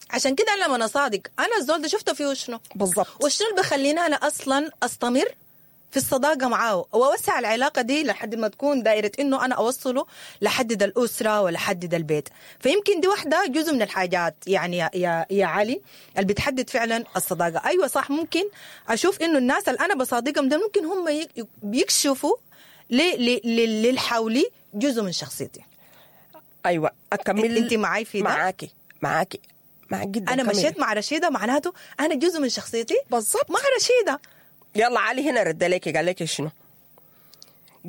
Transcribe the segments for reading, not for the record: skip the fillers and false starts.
عشان كده انا لما اصادق انا الزول ده شفته فيه شنو؟ بالضبط. وشنو اللي بخليني انا اصلا استمر في الصداقة معاه واوسع العلاقة دي لحد ما تكون دائرة انه انا اوصله لحد الاسرة ولحد البيت. فيمكن دي واحدة جزء من الحاجات يعني يا علي اللي بتحدد فعلا الصداقة. ايوه صح، ممكن اشوف انه الناس اللي انا بصادقهم ده ممكن هم بيكشفوا للحولي جزء من شخصيتي. ايوه اكمل. انت معاي في ده؟ معاكي معاكي معاك جدا. انا كملي. مشيت مع رشيده معناته انا جزء من شخصيتي بالضبط مع رشيده. يلا علي هنا رد لك، قال لك شنو؟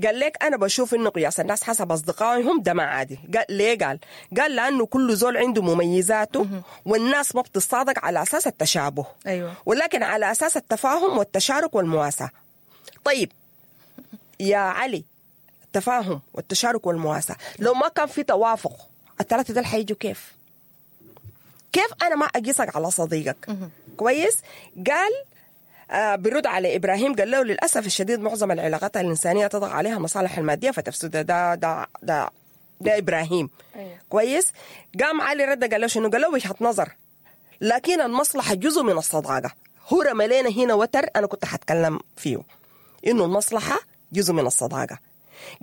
قال لك انا بشوف انه قياس الناس حسب اصدقائهم ده ما عادي. قال ليه؟ قال لانه كل زول عنده مميزاته، والناس ما بتصادق على اساس التشابه. ايوه، ولكن على اساس التفاهم والتشارك والمواساه. طيب يا علي، التفاهم والتشارك والمواساه لو ما كان في توافق الثلاثة دول حيجوا كيف؟ كيف انا ما اقيسك على صديقك؟ كويس. قال برد على ابراهيم، قال له للاسف الشديد معظم العلاقات الانسانية تطغى عليها مصالح المادية فتفسد. ده ده ده ده ابراهيم. أيوة. كويس. قام علي رد قال له شنو؟ قال له وجهه نظر، لكن المصلحة جزء من الصداقة. هو رمى لنا هنا وتر انا كنت حتكلم فيه، انه المصلحة جزء من الصداقة.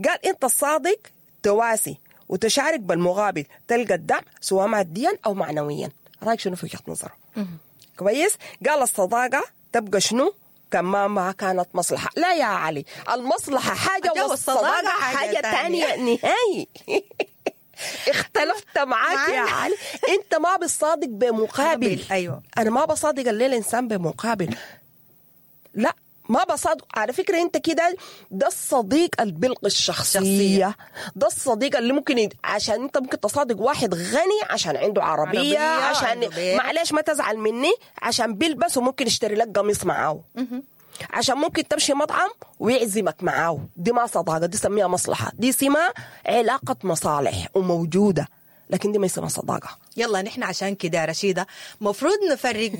قال انت الصادق تواسي وتشارك بالمقابل تلقى الدعم سواء ماديا او معنويا. رايك شنو في وجهه نظره؟ كويس. قال الصداقة تبقى شنو؟ كما ما كانت مصلحة. لا يا علي، المصلحة حاجة والصداقة حاجة تانية نهائي. اختلفت معاك يا علي، انت ما بتصادق بمقابل. ايوه، انا ما بصادق الليلة انسان بمقابل، لا ما بصادق. على فكرة انت كده ده الصديق اللي بيلقي الشخصية، ده الصديق اللي ممكن عشان انت ممكن تصادق واحد غني عشان عنده عربية عشان معلش ما تزعل مني، عشان بيلبس وممكن يشتري لك قميص معاه، عشان ممكن تمشي مطعم ويعزمك معاه. دي ما صداقة، دي سميها مصلحة، دي سمها علاقة مصالح وموجودة، لكن دي ما يسمى صداقة. يلا نحن عشان كده يا رشيدة مفروض نفرق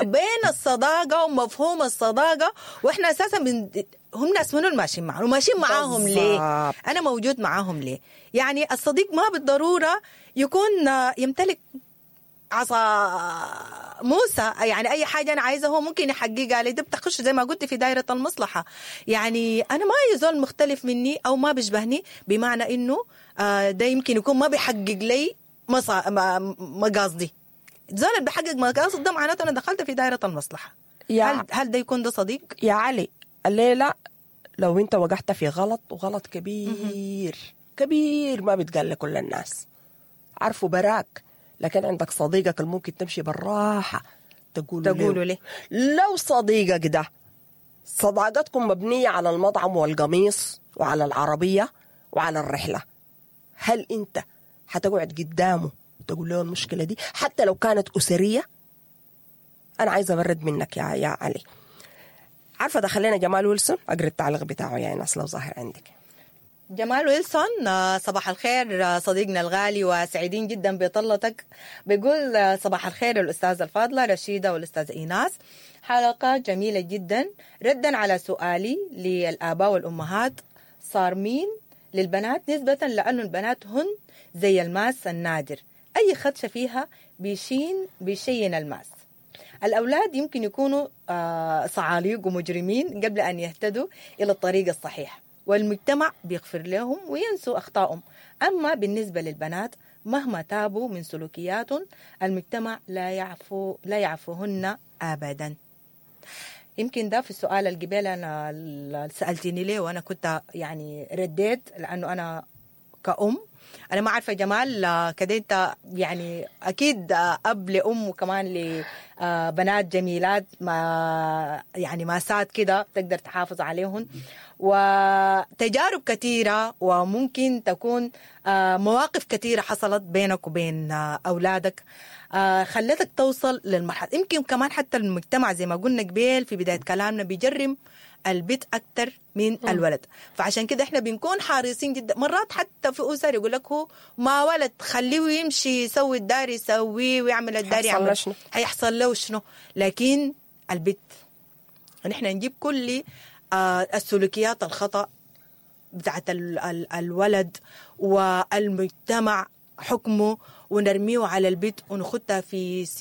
بين الصداقة ومفهوم الصداقة، واحنا اساسا هم ناس منو ماشيين معاهم وماشيين معاهم ليه؟ انا موجود معاهم ليه؟ يعني الصديق ما بالضرورة يكون يمتلك عصا موسى، يعني اي حاجة انا عايزه هو ممكن يحققها لي. ده بتخش زي ما قلت في دائرة المصلحة. يعني انا ما يزول مختلف مني او ما بيشبهني، بمعنى انه ده يمكن يكون ما بيحقق لي مقاصدي. زول اللي بيحقق مقاصد ده معناته انا دخلت في دائرة المصلحة. هل ده يكون ده صديق؟ يا علي الليلة لو انت وقعت في غلط، وغلط كبير كبير ما بيتقال لكل الناس، عارفه براك، لكن عندك صديقك اللي ممكن تمشي بالراحة تقوله ليه. لو صديقك ده صداقتكم مبنية على المطعم والقميص وعلى العربية وعلى الرحلة، هل انت هتقعد قدامه وتقول له المشكلة دي حتى لو كانت أسرية؟ أنا عايزة أبرد منك يا علي. عارفة دخلنا جمال ويلسون، أقرأ التعليق بتاعه يا ناس لو ظاهر عندك. جمال ويلسون، صباح الخير صديقنا الغالي وسعيدين جدا بطلتك. بيقول صباح الخير الأستاذة الفاضلة رشيدة والأستاذة إيناس، حلقة جميلة جدا. ردا على سؤالي للآباء والأمهات، صار مين للبنات نسبة لأنه البنات هن زي الماس النادر، أي خدشة فيها بيشين الماس. الأولاد يمكن يكونوا صعاليق ومجرمين قبل أن يهتدوا إلى الطريق الصحيح، والمجتمع بيغفر لهم وينسوا أخطائهم. أما بالنسبة للبنات مهما تابوا من سلوكياتهم المجتمع لا يعفوهن أبدا. يمكن ده في السؤال القبيل أنا سألتني ليه وأنا كنت يعني رديت، لأنه أنا كأم أنا ما عارفة جمال كده أنت يعني أكيد أب لأم وكمان لبنات جميلات ما يعني ماسات كده تقدر تحافظ عليهن، وتجارب كثيرة وممكن تكون مواقف كثيرة حصلت بينك وبين أولادك خلتك توصل للمرحلة. يمكن كمان حتى المجتمع زي ما قلنا قبيل في بداية كلامنا بيجرم البيت أكتر من الولد، فعشان كده احنا بنكون حريصين جدا. مرات حتى في أسر يقول لك هو ما ولد خليه يمشي يسوي الدار يسويه ويعمل الدار يعمل، هيحصل له شنو؟ لكن البيت نحن نجيب كل السلوكيات الخطأ بتاعت الولد والمجتمع حكمه ونرميه على البيت ونخدها في سجن.